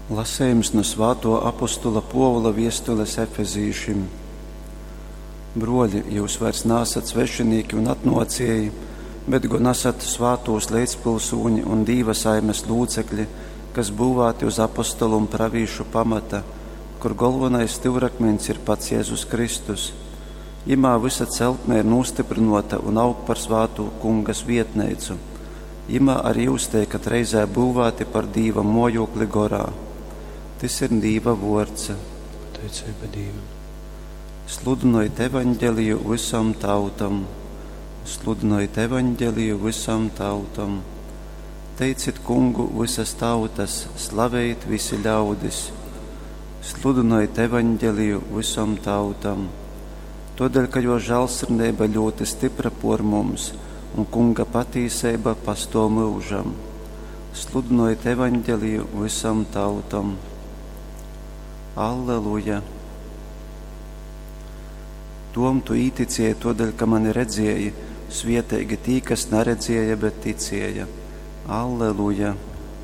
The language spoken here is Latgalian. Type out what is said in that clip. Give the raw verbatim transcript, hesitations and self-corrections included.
Lasejums nu svātuo apostula Puovula viestules Efezīšim. Bruoļi, jyus vairs naasat svešinīki un atnuocieji, bet gon asat svātūs leidzpilsūņi un Dīva saimes lūcekļi, kas būvāti uz apostolu un pravīšu pamata, kur golvonais styurakmeņs ir pats Jēzus Kristus. Jimā vysa celtne ir nūstyprynuota un aug par svātu Kunga svietneicu. Jimā arī jūs teikat reizē būvāti par Dīva mojūkli gorā. Tys ir Dīva vuords. Pateiceiba Dīvam. Sludynojit evaņgeliju vysom tautom. Sludynojit evaņgeliju vysom tautom. Teicit Kungu vysas tautas, slavejit vysi ļaudis. Sludynojit evaņgeliju vysom tautom. Tuodeļ, ka juo žālsirdeiba ļūti stypra puor mums, un Kunga patīseiba pastuov myužam. Sludynojit evaņgeliju vysom tautom. Alleluja! Tom, tu īticieji tuodeļ, ka mani redzieji, svieteigi tī, kas naredzieja, bet ticieja. Alleluja!